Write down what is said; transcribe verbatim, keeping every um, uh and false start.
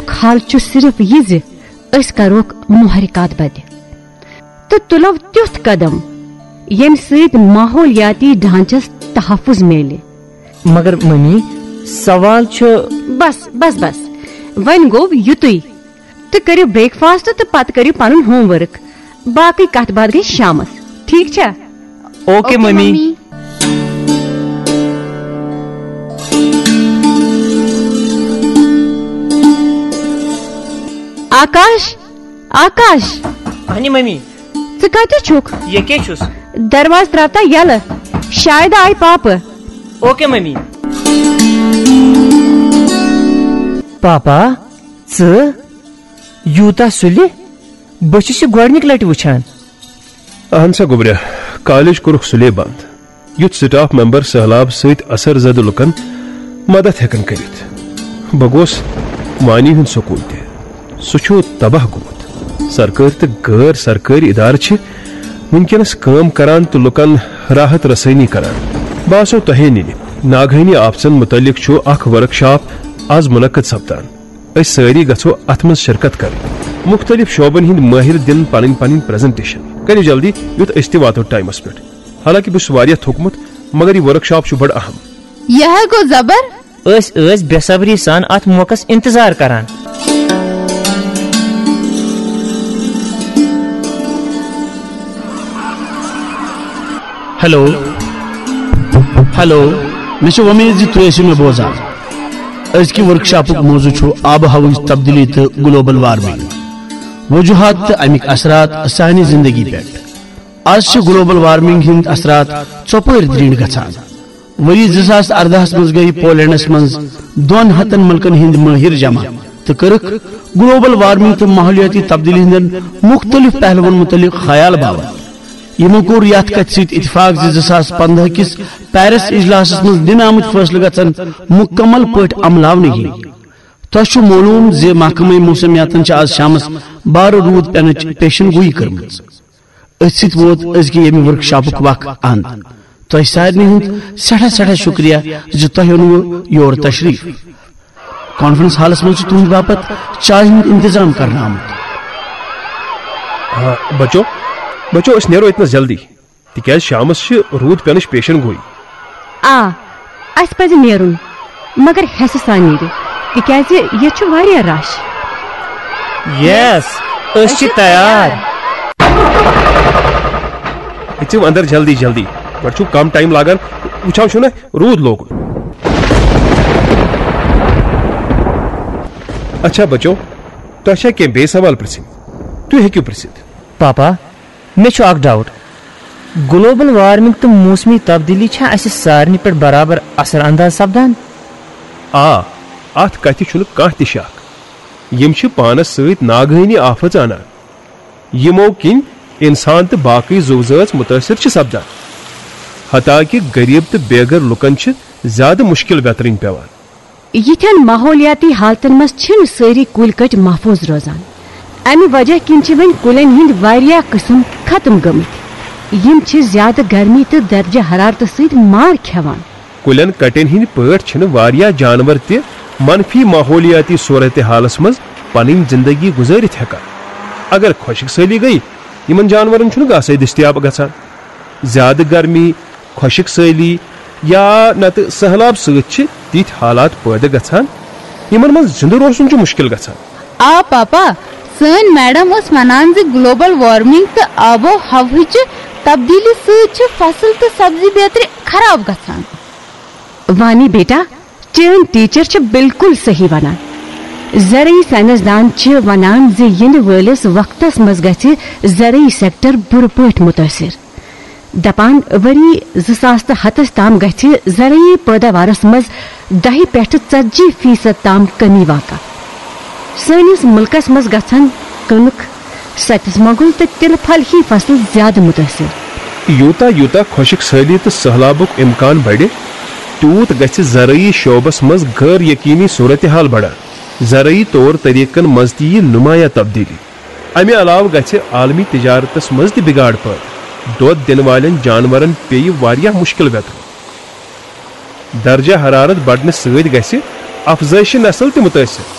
حل چھُ صرف یہِ زِ أسۍ کروکھ محرکات بدِ تہٕ تُلو تیُتھ قدم، ییٚمہِ سۭتۍ ماحولیاتی ڈھانچس تحفظ میلہِ۔ مگر ممی، سوال چھُ۔ بس، بس، بس۔ وۄنۍ گوٚو یُتُے۔ تُہۍ کٔرِو بریک فاسٹ تہٕ پتہٕ کٔرِو پنُن ہوم ورک۔ باقٕے کتھ باتھ گژھِ شامس۔ ٹھیٖک چھا؟ Okay, okay, mummy. Mummy. Akash, Akash. اہنی ممی۔ ژٕ کتہِ چھُکھ؟ ییٚکے چھُس۔ دروازٕ ترٛاو تا یَلہٕ۔ شاید آے پاپہٕ۔ Okay mummy. پاپا، ژٕ یوٗتاہ سُلہِ؟ بہٕ چھُس یہِ گۄڈٕنِکۍ لٹہِ وٕچھان۔ اہن سا گوٚبریا، کالج کوٚرُکھ سُلے بنٛد، یُتھ سٹاف ممبر سٔہلاب سۭتۍ اثر زدٕ لُکن مدد ہٮ۪کن کٔرِتھ۔ بہٕ گوس وانی ہُنٛد سکوٗل تہِ۔ سُہ چھُ تباہ گوٚمُت۔ سرکٲرۍ تہٕ غٲر سرکٲرۍ ادارٕ چھِ وٕنکیٚنس کٲم کران تہٕ لُکن راحت رسٲنی کران۔ بہٕ آسو تۄہے نِنہِ۔ ناگہٲنی آفژن مُتعلق چھُ اکھ ورکشاپ از منعقد سپدان۔ أسۍ سٲری گژھو اتھ منٛز شرکت کرٕنۍ۔ مُختٔلِف شعبن ہٕنٛدۍ مٲہِر دِن پنٕنۍ پنٕنۍ پریزنٹیشن۔ کٔرِو جلدی، یُتھ أسۍ تہِ واتو ٹایمس پٮ۪ٹھ۔ حالانکہ بہٕ چھُس واریاہ تھوٚکمُت، مگر یہِ ورکشاپ چھُ بڑٕ اہم۔ یہِ ہے گوٚو زبر۔ أسۍ ٲسۍ بے صبری سان اتھ موقعس انتظار کران۔ Hello, hello. مےٚ چھِ وۄمید زِ تُہۍ ٲسِو مےٚ بوزان۔ أزکہِ ورکشاپُک موضوع چھُ آب و ہوہٕچ تبدیلی تہٕ گلوبل وارمنگ، وجوہات تہٕ امیِکۍ اثرات سانہِ زندگی پٮ۪ٹھ۔ از چھِ گلوبل وارمنگ ہٕنٛدۍ اثرات ژۄپٲرۍ درینڈ گژھان۔ ؤری زٕ ساس ارداہس منٛز گٔیہِ پولینڈس منٛز دۄن ہتن مُلکن ہٕنٛدۍ مٲہِر جمع تہٕ کٔرٕکھ گلوبل وارمنگ تہٕ ماحولیٲتی تبدیلی ہٕنٛدٮ۪ن مُختٔلِف پہلوَن مُتعلِق خیال باوت۔ یِمو کوٚر یَتھ کَتھِ سۭتۍ اتفاق زِ زٕ ساس پندہ کِس پیرس اجلاسَس منٛز نِنہٕ آمٕتۍ فٲصلہٕ گژھن مُکمل پٲٹھۍ عملاونہٕ یِنۍ۔ تۄہہِ چھُ معلوم زِ محکمہٕ موسمیاتن چھِ آز شامَس بارٕ روٗد پینٕچ پیشن گویی کٔرمٕژ۔ أتھۍ سۭتۍ ووت أزکہِ ییٚمہِ ورکشاپُک وق اند۔ تۄہہِ سارنٕے ہُنٛد سٮ۪ٹھاہ سٮ۪ٹھاہ شُکریہ زِ تۄہہِ اوٚنوٕ یور تشریف۔ کانفرنس ہالس منٛز چھُ تُہنٛدِ باپتھ چایہِ ہُنٛد انتظام کرنہٕ آمُت۔ آ، بچو، بچو، أسۍ نیرو ییٚتہِ نَس جلدی، تِکیازِ شامس چھِ روٗد پینٕچ پیشن گویی۔ آ، اسہِ پزِ نیرُن، مگر حیسہٕ سان نیرِو، تِکیازِ ییٚتہِ چھُ واریاہ رش۔ یس، أسۍ چھِ تیار۔ أژِو اندر جلدی جلدی، گۄڈٕ چھُو کم ٹایم لاگان، وٕچھان چھُو نہ روٗد لوگُن۔ اچھا بچو، تۄہہِ چھا کینٛہہ بیٚیہِ سوال پرژھٕنۍ؟ تُہۍ ہیٚکِو پرژھِتھ۔ پاپا، مےٚ چھُ اکھ ڈاوٹ۔ گلوبل وارمنگ تہٕ موسمی تبدیلی چھا اسہِ سارنٕے پٮ۪ٹھ برابر اثر انداز سپدان؟ آ، اتھ کتھِ چھُنہٕ کانٛہہ تہِ شک۔ یِم چھِ پانس سۭتۍ ناگہٲنی آفژ انان، یِمو کِنۍ انسان تہٕ باقٕے زُو زٲژ مُتٲثر چھِ سپدان۔ حتیٰ کہِ غریب تہٕ بے گھر لُکن چھِ زیادٕ مُشکل ویترٕنۍ پٮ۪وان۔ یِتھٮ۪ن ماحولیاتی حالتن منٛز چھِنہٕ سٲری کُلۍ کٔٹۍ محفوظ روزان۔ امہِ وجہ کِنۍ چھِ وۄنۍ کُلٮ۪ن ہٕنٛدۍ واریاہ قٕسم ختم گٔمٕتۍ۔ یِم چھِ زیادٕ گرمی تہٕ درجہ حرارتہٕ سۭتۍ مار کھٮ۪وان۔ کُلٮ۪ن کٹٮ۪ن ہٕنٛدۍ پٲٹھۍ چھِنہٕ واریاہ جانور تہِ منفی ماحولیاتی صورتحالس منٛز پنٕنۍ زندگی گُزٲرِتھ ہٮ۪کان۔ اگر خۄشک سٲلی گٔیہِ، یِمن جانورن چھُنہٕ گاسے دٔستیاب گژھان۔ زیادٕ گرمی، خۄشک سٲلی یا نتہٕ سٔہلاب سۭتۍ چھِ تِتھۍ حالات پٲدٕ گژھان، یِمن منٛز زِندٕ روزُن چھُ مُشکِل گژھان۔ آ پاپا، سٲنۍ میڈم ٲس ونان زِ گلوبل وارمنگ تہٕ آب و ہوہٕچہِ تبدیلی سۭتۍ چھِ فصل تہٕ سبزی بیترِ خراب گژھان۔ وانی بیٹا، چٲنۍ ٹیچر چھِ بالکل صحیح ونان۔ زرعی سائنسدان چھِ ونان زِ یِنہٕ وٲلِس وقتس منٛز گژھِ زرعی سیکٹر بُرٕ پٲٹھۍ مُتٲثِر۔ دپان، ؤری زٕ ساس تہٕ ہتس تام گژھِ زرعی پٲداوارس منٛز دَہہِ پٮ۪ٹھٕ ژتجی فیصد تام کمی واقع۔ سٲنِس مُلکس منٛز گژھن کٕنٕک، ستِس مۄنٛگُل تہٕ تِلہٕ پھل ہی فصل زیادٕ مُتٲثِر۔ یوٗتاہ یوٗتاہ خۄشک سٲلی تہٕ سٔہلابُک امکان بڑِ، تیوٗت گژھِ زرعی شعبس منٛز غٲر یقینی صورتحال بڑان۔ زرعی طور طریقن منٛز تہِ ییہِ نمایاں تبدیلی۔ امہِ علاوٕ گژھِ عالمی تجارتس منٛز تہِ بگاڑ پٲدٕ۔ دۄد دِنہٕ والٮ۪ن جانورن پیٚیہِ واریاہ مُشکل ویترُن۔ درجہ حرارت بڑنہٕ سۭتۍ گژھِ افزٲیشِ نسل تہِ مُتٲثِر۔